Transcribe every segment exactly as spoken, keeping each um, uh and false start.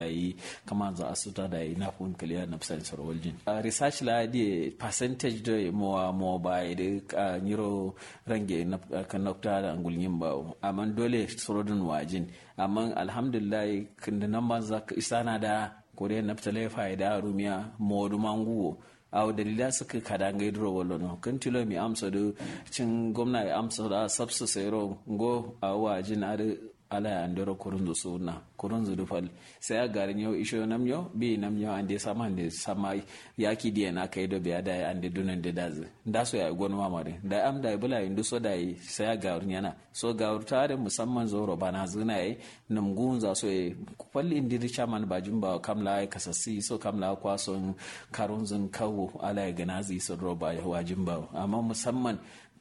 Dayi kamanza asuta dayi nafun kiliya nafsan soro waljin. Research la diye percentage do mowa mowa ba ye de nyiro range nafta da ngulgin ba. Amma dole surodun wajin. Amma alhamdulillah, kindi nan banza isana da kore nafta laifa da rumiya modu manguwo. Awo dalila sǝkkǝ kada ngai duro wallono kǝn tilo mi amso dǝ cin gomna ye amso da sabsǝ sairo ngo awo wajin adǝ. Ala ye andero kurunzu suna kurunzu dǝ fal sai a garin yau isho nam yau bi nam yau ande sama ande sama. Yaki diye na kai do biya da ye ande dunan de dazǝ ndaso ya gonuma ma dǝ da am da ye bula ye nduso da ye sai a garin yana so gawurta adǝ musamman zoro bana zuna ye. Nǝm ngunza so ye fal indi dǝ chaman bajin ba kam la ye kasassi so kam la kwa son karunzun kawo ala ye ganazi so duro ba wajin ba amma musamman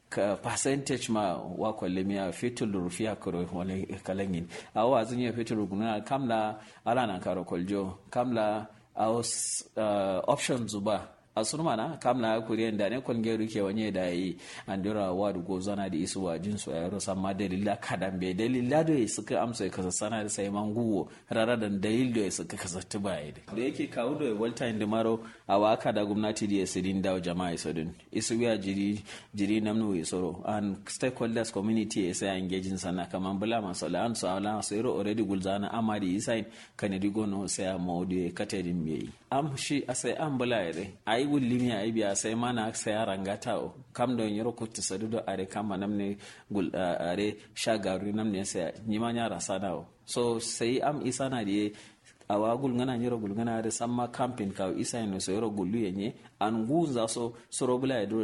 ka percentage ma wa kwalle miya fitul rufiya kuro wani kalangin awo azun ya fitul guna kam la ala nan karo kwaljo kam la awo option zuba. Asurmana kam la kuriyan da ne kwalge ruke wanye da yi andiro awa du gozana da isu wajin so yaro samma dalila kadan be dalila do yi suka amso ya kasassana da sai manguwo rara dan dalil do ya suka kasattu ba yi da yake kawo do ya walta inda maro awa kada gumnati da ya sidin dawo jama'a iso din isu wiya jiri jiri namnu ya soro and stakeholders community ya sai engaging sana kaman bula maso la an so ala so yaro already gulzana amma da yi sai kanadi gono sai amma audio ya katadin me yi. Am shi asai am bula yare ayi gullimi ayi biya sai mana sai a rangata o kam do nyiro kuttu sadu do are kam manam ne gul are sha garu nam ne sai nyima nya rasana o so sai am isana diye. Awa gulngana nyiro gulngana are samma camping kawo isa no so yoro gullu yenye an gunza so suro bula yare.